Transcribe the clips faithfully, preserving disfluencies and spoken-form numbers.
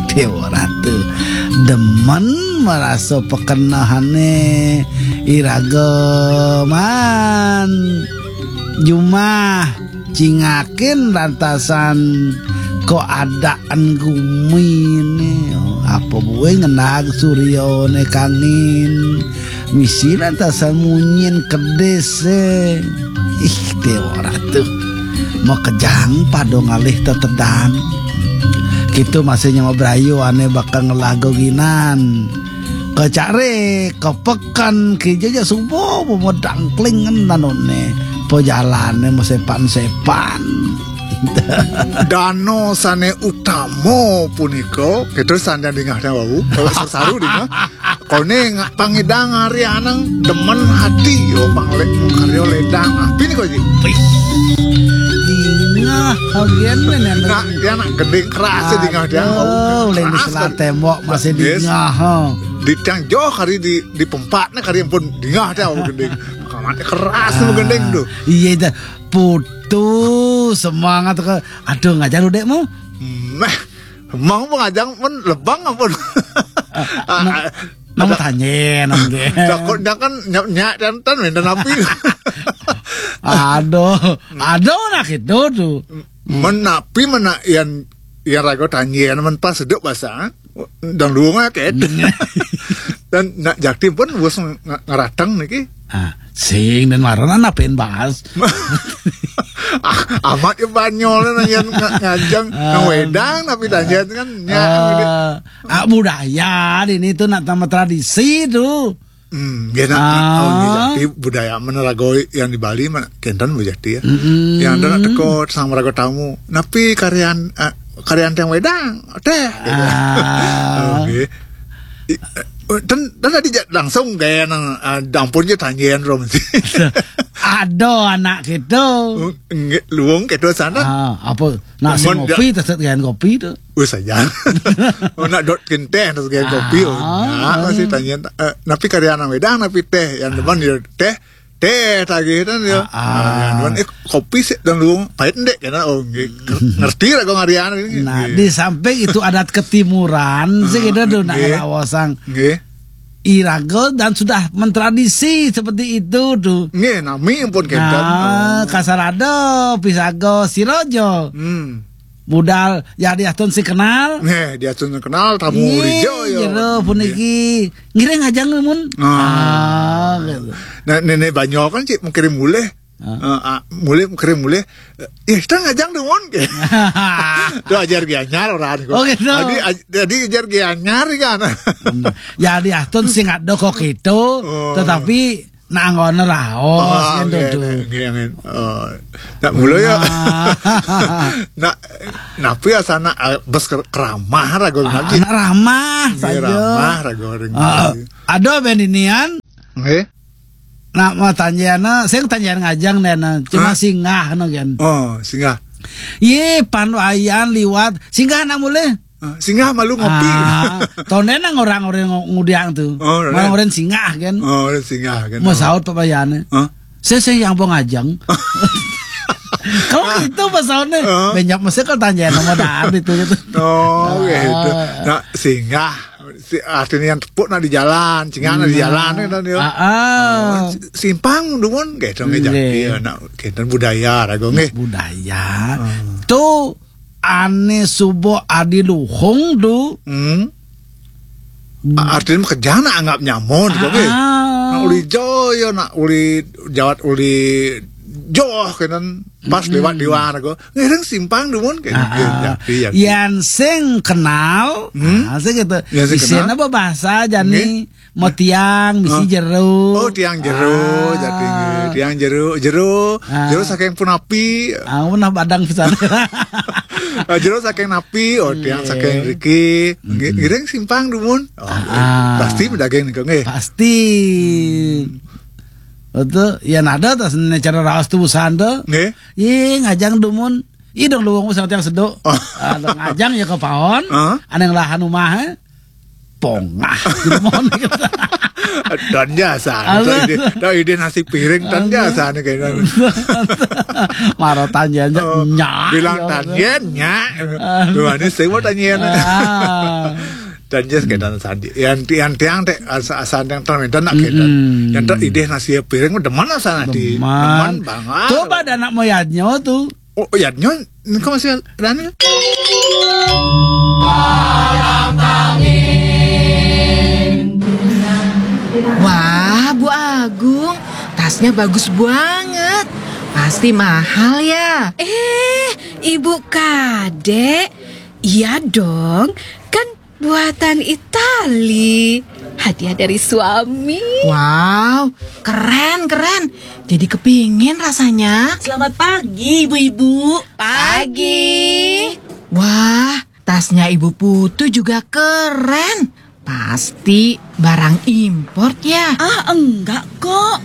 Déwa Ratu demen marasa pakenehane iraga man jumah cingakin rantasan keadaan gumine. Apa buin ngenag suryane kangin misi rantasan munyin kedis, eh. Ih, Déwa Ratu. Makejang pada ngalih tetedan. Kita masih nyama berayu ane bakal ngelago ginan. Kecari, kepeken, kija ja subuh, pemedang klingan nanone. Pejalane mesepan-sepan. Dana sane utama punika, kita sanjang dingah wau, kalau saru dingah. Kone nga-, pangidang hari anang demen hati, yo, panglek karya ledang. Api ni kau ji? Wih. Dingah, agen men yang Nah, dia nak gending keras, dia dingah dia. Aduh, uleng di Keras selat kan. Tembok masih Yes. Dingah, ha. Di tiang jauh hari di, di pempat ni hari pun dingah dia, oh, gending. Kamat keras tu gending tu. Iya dah. Putus semangat ke. Aduh, ngajar udek mu. Meh, mau pengajang pun lebang ampun. Ah, nah, ada mau tanya nang dia. Takutnya kan nyak nyak dan tan main dan api. Aduh, aduh nak itu tu. Menapi mana yang yang raga tanya men pas sedek bahasa. Dan luang aket. Dan nak jakti pun bos ng-, ngeratang niki. Ah, sing dan marana napin bahas. Ah, amat ya Banyol nang yang nga-, ngajang, nang Ah. Wedang, tapi tanya kan nyak. Ah, ah, budaya di ini tu nak tambah tradisi tu. Hmm, ya nak, Ah. Oh, ya, jadi budaya mana raga yang di Bali mana kenten budaya ya. Mm-mm. Yang ada nak teko sama raga tamu. Napi karyan, ah, karyan tiang Wedang, teh. Ah. Oke. I-, eh, dan, dan tadi ja-, langsung gaya nang, ah, dampun je tanjian rom. Ada anak kita. Oh, nge-, luang ke tu sana. Ah, apa? Nak si Mun kopi, tak sekian kopi tu. Oh, saja. Oh, nak dot kenteh, tak sekian kopi. Oh, Ah. Nah, masih tanya, eh, napi karya nang Wedang, napi teh. Yang depan dia teh, teh tagih kan dia. Ah, ah. Ah, yang depan, eh, kopi sih dan luang, pahit ndek kan. Oh, nge-, ngerti lah kau ngarian ini. Nah, Nggih. Di samping itu adat ketimuran, sih kita tu nak Nggih. Ngelawasang. Nggih. Iraga dan sudah mentradisi seperti itu tu. Nggih, nami pun kenten. Nah, Oh. Kasarada, pisaga, siraja. Hmm. Budal, ya diastun si kenal. Nggih, diastun si kenal, tamu Nggih, rijo, ya. Jero Nggih. Puniki. Ngiring aja ngemun. Ah. Ah, gitu. Nah, nenek Banyol kan cik mengkirim mulih. Ah. Eh, ah, mulih, mengkirim mulih. Eh, kita ngajang deh, Mon. Tu ajar gianyar orang. Oh, gitu. Tadi, aj-, tadi ajar gianyar kan. Hmm. Ya, diastun sing ada kok gitu, Oh. Tetapi nak anggone raos, Oh, kan, nggih, tu. Nggih, nggih. Oh. Nak mula ya. Nah. Nak, napi asana, eh, bes ker-, keramah raga Ah, lagi. Nak ramah Nggih, saja. Ramah raga ring Ah, lagi. Ada ben inian. Nggih. Nak mau tanjana, sing tanjana ngajang deh, nah. Cuma Hah? Singgah, no, kan. Oh, singgah. Ye, pan wayan liwat, singgah nak mulih. Ah, singgah malu ngopi. Ah, tone nang orang-orang ng-, ngudiang tu. Oh, orang. Malah orang singgah kan. Oh, orang singgah kan. Mau Oh. Saut Pak Bayane. Hah? Saya, saya yang bong ajang. Kalau itu pasalnya, Hah? Banyak mesti kalau tanya nama dah itu gitu. Oh, gitu. Ah. Nak singgah. Si, artinya yang tepuk nak di jalan, singgah nak di Hmm. Jalan kan dia. Ah, ah. Oh, si-, simpang dumun gitu nggih Nggih. Jati ya, nak gitu budaya raga nggih. Budaya. Ah. Tu ane suba adi luhung tu. Hmm. Hmm. A-, artinya kerja nak anggap nyamun gitu, Ah, nggih. Ah. Nak uli joyo, nak uli jawat uli joh kenen pas Hmm. Lewat di warga. Ngiring simpang dumun kenen. Ah, ah. Jati, jati. Yan sing kenal, Hmm? Ah, sing gitu. Yan sing Isin kenal. Apa bahasa jani? Nggih. Mau tiang, misi Hah? Jero. Oh, tiang jero, Ah. Jati nggih. Tiang jero, jero, Ah. Jero saking punapi. Ah, punah badang pisan. Ah, jero saking napi, oh, tiang Nggih. Saking riki. Nggih, Mm-mm. Ngiring simpang dumun. Oh, Ah, ah. Pasti medaging niku nggih. Pasti. Hmm. Betul. Ya nada tas ne cara raos tu busan tu. Nggih. Ih, ngajang dumun. Ih, dong luwung sama tiang seduk. Oh. Ah, dong ngajang ya ke paon. Ah. Ada yang lahan rumah, eh. pongah. Mon. Dan jasa. Aduh. Idih, dan idih nasi piring dan jasa nih kayaknya. Maro tanjen, oh, nyak, bilang ya, tanjen, nyak. Aduh. Tuh, ini saya mau tanjen. Ah. Dan jas kedan sandi. Yang, yang tiang teh asa, asa yang termedan nak kedan. Mm-mm. Yang tak idih nasi piring udah mana sana di. Demen. Demen banget. Coba ada anak moyadnya tuh. Oh, oh, ya, nyon, engko masih ada nih. Wah, Bu Agung, tasnya bagus banget. Pasti mahal ya? Eh, Ibu Kadek, iya dong. Kan buatan Itali. Hadiah dari suami. Wow, keren, keren. Jadi kepingin rasanya. Selamat pagi, ibu-ibu. Pagi. Wah, tasnya Ibu Putu juga keren. Pasti barang import ya? Ah, enggak kok.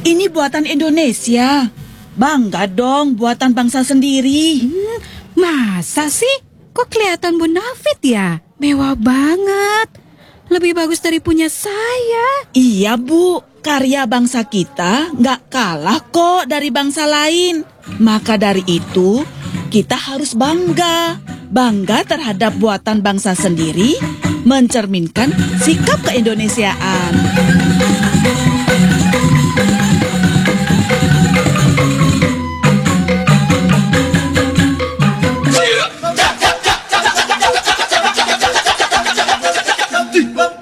Ini buatan Indonesia. Bangga dong, buatan bangsa sendiri. Hmm, masa sih? Kok kelihatan bonafit ya? Mewah banget. Lebih bagus dari punya saya. Iya, Bu. Karya bangsa kita nggak kalah kok dari bangsa lain. Maka dari itu, kita harus bangga. Bangga terhadap buatan bangsa sendiri mencerminkan sikap keindonesiaan.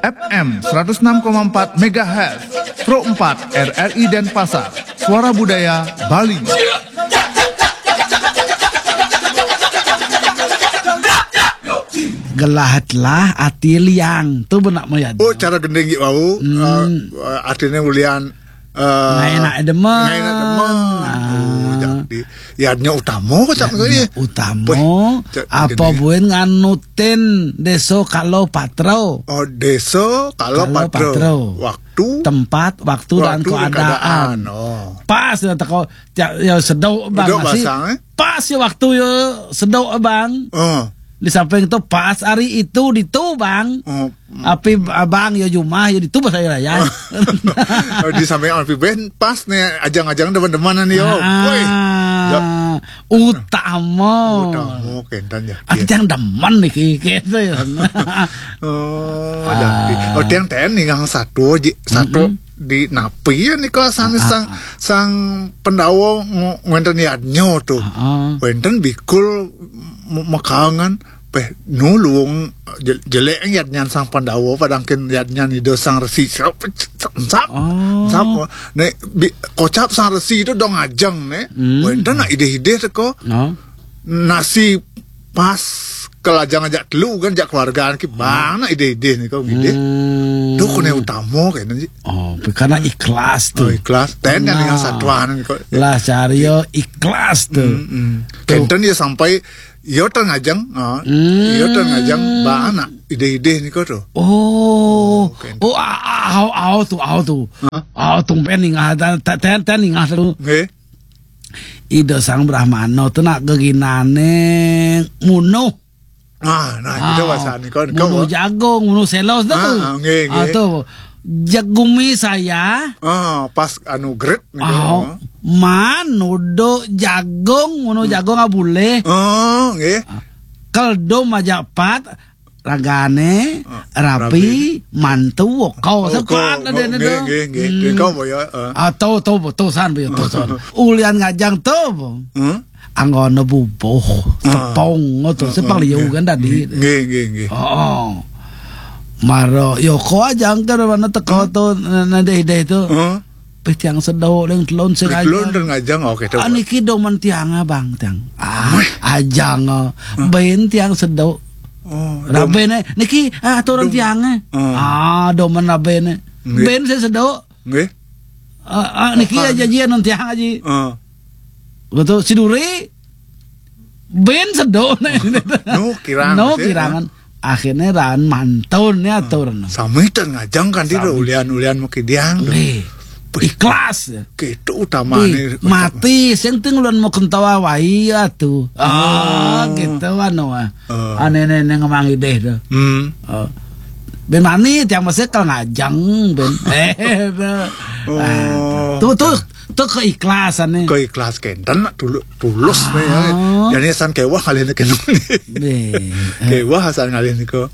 F M seratus enam koma empat megahertz, Pro empat R R I Denpasar, Suara Budaya Bali. Gelahatlah ati liang. Tuh benak moyad. Oh, cara gending gitu, wau. Hmm. Eh, eh, artinya ulian, eh, nggak enak demen. Nggak enak demen. Ah. Oh, jadi, ya, nya utama kok, Cak, ya, ini. Utama. Weh, Cak, apa gini. Buin nganutin deso kalau patro? Oh, deso kalau patro. Patro. Waktu. Tempat, waktu, dan keadaan. Waktu dan keadaan. Oh. Pas ya teko, ya, ya sedok bang. Sedok masih basang, eh? Pas ya waktu ya sedok bang. Oh. Di samping itu pas hari itu ditu bang. Oh. Api abang ya jumah ya ditu pas hari raya. Oh, di samping api ben pas nih ajang-ajang demen-demenan yo. Ah, woi. Ya. Utama. Utama, kenten ya. Ajang demen nih gitu ya. Oh, ada. Ah. Oh, tiang ten nih yang satu aja, satu. Mm-mm. Di napi ya nih kok sana sang, sang pendawa ngenten yadnyo tuh. Ah, ah. Wenten bikul mekangan peh nulung jelek yadnyan sang pendawa padangkin yadnyan ido sang resi sap sap sap. Oh. Sap. Nek kocap sang resi itu dong ajeng nek. Hmm. Wenten nak idih-idih teko. No. Nasi pas kelajang ajak telu kan, ajak keluargaan ki bang nak idih-idih nih kau idih. Hmm. Tuh kone utama kayaknya sih. Oh, karena ikhlas tuh. Oh, ikhlas. Ten yang satuan nih kau. Lah, cari yo ikhlas tuh. Hmm, hmm. Tuh. Kenten ya sampai yo tengajang, oh, yo tengajang bang nak idih-idih nih kau tuh. Oh, oh, au, au tuh, au tuh. Hah? Au tuh pen nih nggak ada, ten, ten nih nggak tuh. Nggih. Ida Sang Brahmana tu nak geginane munuh. Ah, nah, kita bahasa ni kan. Munuh jagung, munuh selos tu. Ah, ah, nggih, nggih. Ah, tu. Jagumi saya. Ah, pas anu gret ni. Ah, man, nudo jagung, munuh jagung ah boleh. Oh, nggih. Keldo majak pat, ragane, ah, rapi, rapi. Mantu, kau sepat ada nggih, nggih, nggih. Hmm. Kau boyo, ah. Ah, tu, tu, tu san, boyo, tu san. Ulian ngajang tu, bo. Hmm? Anggone bubuh, ah. Tepung, tu, ah, sepang ah, liu nggih. Kan tadi. Nggih, nggih, nggih. Oh, oh. Maro, yo, kau ajang ke mana teko tu, nadeh-deh tu. Ah. Pih tiang sedok deng telon sing ajang. Telon deng ajang, oke, coba. Ah, niki domen tiang, ah, bang, tiang. Ah, weh. Ajang, ah. Ah. Ben tiang sedok. Oh, rabe ne, niki, ah, aturan tiang, eh. Ah. Ah, domen rabe ne. Nggih. Ben saya sedok. Nggih. Ah, ah, niki aja jian non tiang aja. Ah. Betul, si Duri. Ben sedok ne. No, kirangan. No, sih, kirangan. Ah. Akhirnya ran mantun ya atur. Sami ten ngajang kan di ulian-ulian makidiang. Nggih. Ikhlas ya. Gitu utamane. Mati sing ting ulun mau kentawa wai ya tuh. Ah, gitu anu ah. Aneh-aneh ngemang ideh tuh. Hmm. Oh. Ben mani tiang masih kal ngajeng ben. Eh, tu. Ah, tu, tu, tu keikhlasan nih. Keikhlas kenten, nak tulu-, tulus nih ya. Jadi asan kewah kali ini kena. Kéwah asan ngalih nika.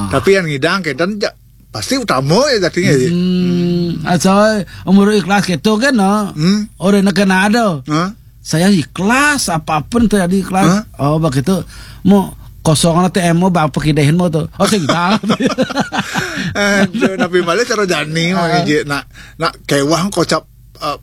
Tapi yang ngidang kenten ja-, pasti utama ya jadinya ya. Hmm, asal umur ikhlas gitu kan, no? Hmm? Orang nak kena ada. Hah? Saya ikhlas, apapun terjadi ikhlas. Hah? Oh, begitu. Mau kosong A T M mau bapak kidahin mau tuh. Oh, sing dah. Aduh, tapi balik cara jani, ah, mah, Ji. Nak, nak kewah kocap, eh,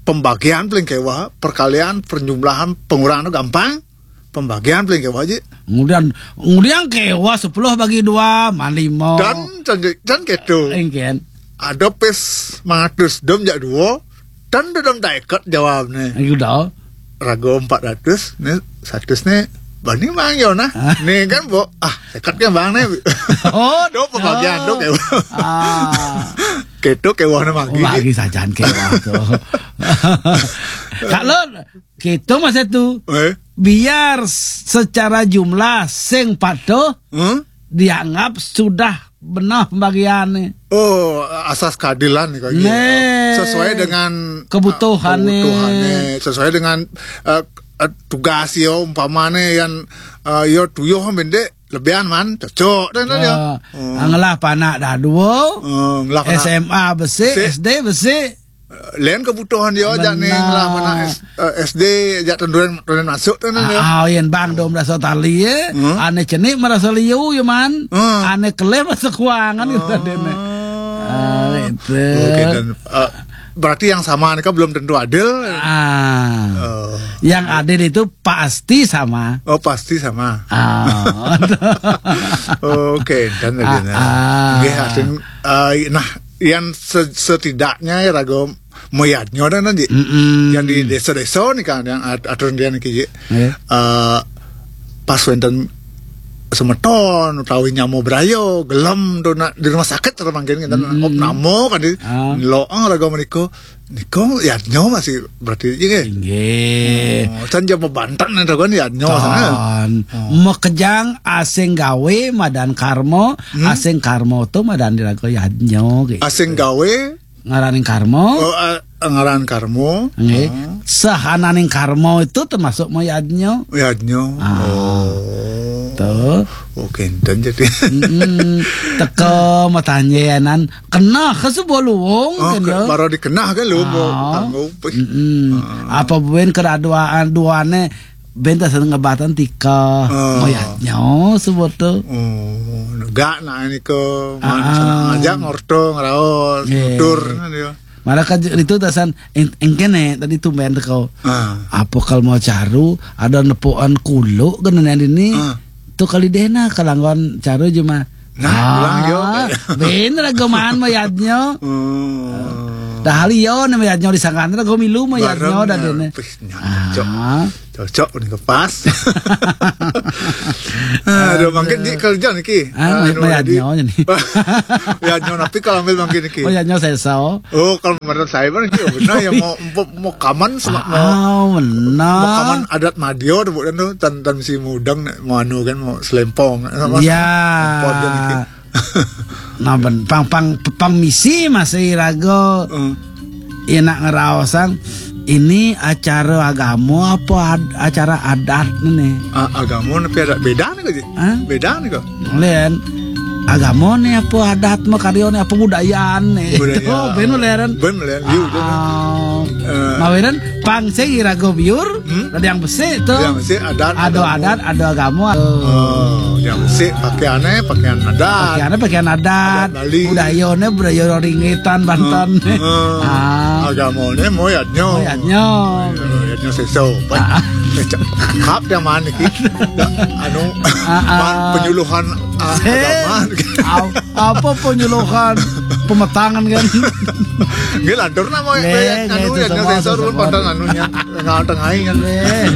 pembagian paling kewah, perkalian, perjumlahan, pengurangan gampang. Pembagian paling kewah, Ji. Kemudian, kemudian kewah sepuluh bagi dua, mana lima. Dan, dan, dan gitu. Engken. Ada pes mangatus dom jak dua, dan dom tak ikat jawab nih. Ayo dah. Rago empat ratus, nih, seratus nih, bani bang yo nah. Ah. Nih kan, Bo, ah, ikat kan bang nih. Oh, do pembagian, do kewah. Ah. Gitu kewah nih magi. Magi sajan kewah tuh. Kalau gitu masa tuh. Eh? Biar secara jumlah sing patuh, hmm? Dianggap sudah benar pembagiannya. Oh, asas keadilan nih, Kak, gitu. Nih. Sesuai dengan, kebutuhan eh, nih. Kebutuhannya, sesuai dengan, eh, eh, tugas yo, umpamane yang, eh, yo tuyuh mendek lebihan man, cocok dan ya. Hmm. Ngelah panak dah dua. Hmm, ngelah panak. S M A besi, besi. S D besi. Lain kebutuhan dia aja nih, ngelah mana S-, eh, S D aja tenduren, tenduren masuk tuh nih, ya. Ah, ah, yen bang do merasa tali ya. Hmm? Ane cenik merasa liu ya man. Hmm. Ane kelih merasa kuangan gitu tadi nih. Ah, itu. Oke, dan, eh, berarti yang sama ini kan belum tentu adil. Ah. Oh. Yang adil itu pasti sama. Oh, pasti sama. Ah. Oke, dan tadi, ah, nah. Ah. Nggih, artin, eh, nah, yang se-, setidaknya ya raga mayadnya dan nanti. Mm-mm. Yang di desa-desa nih kan, yang at-, aturan dia nih, Ki. Iya. Eh, pas wenten semeton utawi nyama braya, gelem to nak di rumah sakit terus mangkin kita, mm-mm, opname kan di, ah, lo, ah, raga menika. Nika yadnya masih berarti iki nggih. Nggih. Oh, can jaba banten to kan yadnya sana. Ton. Oh. Makejang asing gawe madan karma, hmm? Asing karma to madan diraga yadnya gitu. Asing gawe? Ngaraning karma. Oh, eh, ngaran karma. Nggih. Oh. Sahananing karma itu termasuk mayadnya. Yadnya. Ah. Oh. Tuh. Oh, kenten jadi. Mm-mm. Teka matanjenan. Kenah ka sebuah luwung, oh, kan, ke-, ya? Baru dikenah kan luwung, ah, kanggo, mm-mm. Ah. Apa buin keraduan duane ben tak seneng ngebatan tika. Ah. Mayadnya sebut tuh. Oh, negak nak ini ke, ah, mana sana ngajak ngorto, ngeraos, iya, nutur, kan, ya. Malah kan itu tasan eng-, engkene tadi tumben teko. Ah. Apa kalau mau caru, ada nepukan kuluk kena ini. Ah. Tuh kali deh nah, kalanggon caru cuma. Nah, ah, bilang yo. Bener ageman mayadnya. Hmm. Dah liyo nih mayadnya disangkan, gue milu mayadnya. Bareng, dah, nah, dene. Pih, nyana, ah. Cocok. Cocok nih, pas. Aduh, mangkin di kerja niki. Ah, anu, mayadnya jadi nih. Mayadnya, tapi kalau ambil mangkin niki. Mayadnya sesa. Oh, kalau menurut saya, Bang, iya benar ya, mau, mau, mau kaman sama, mau, ah, benar, mau kaman adat Madio tuh, bukan tuh, tan, tan si mudang, nek mau anu kan, mau selempong, sama, ya, selempong dia gitu. Nah, ben, pang, pang, pang misi masih raga. Hmm. Ya, nak ngeraosang, ini acara agama apa ad-, acara adat nih? A-, agama tapi ada beda nih, Ji. Hah? Beda nih kok. Lain. Agama nih apa adat mah karya nih apa budayaan nih. Budaya. Itu, ben leren. Ben leren, iya, betul. Ah. Eh. Mawinan pang sing iraga biur, hmm? Ada yang besi tuh. Ada yang besi, adat, ada agama. Ada adat, ada agama. Oh, yang besi pakaiannya pakaian adat. Pakaiannya pakaian adat. Adat Bali. Budayanya budaya ringitan, Banten. Hmm. Ah. Agamanya mau yadnya. Mau yadnya. Yadnya seso. Ah. Cakap yang mana ki? Anu, ah, ah, man penyuluhan, ah, eh, agama. Au-, apa penyuluhan pemetangan kan? Nggih, lantur nama, nggih, anu, nggih, ya, itu semua, sensor itu pun semua. Pada anunya, tengah-tengah kan. Nggih.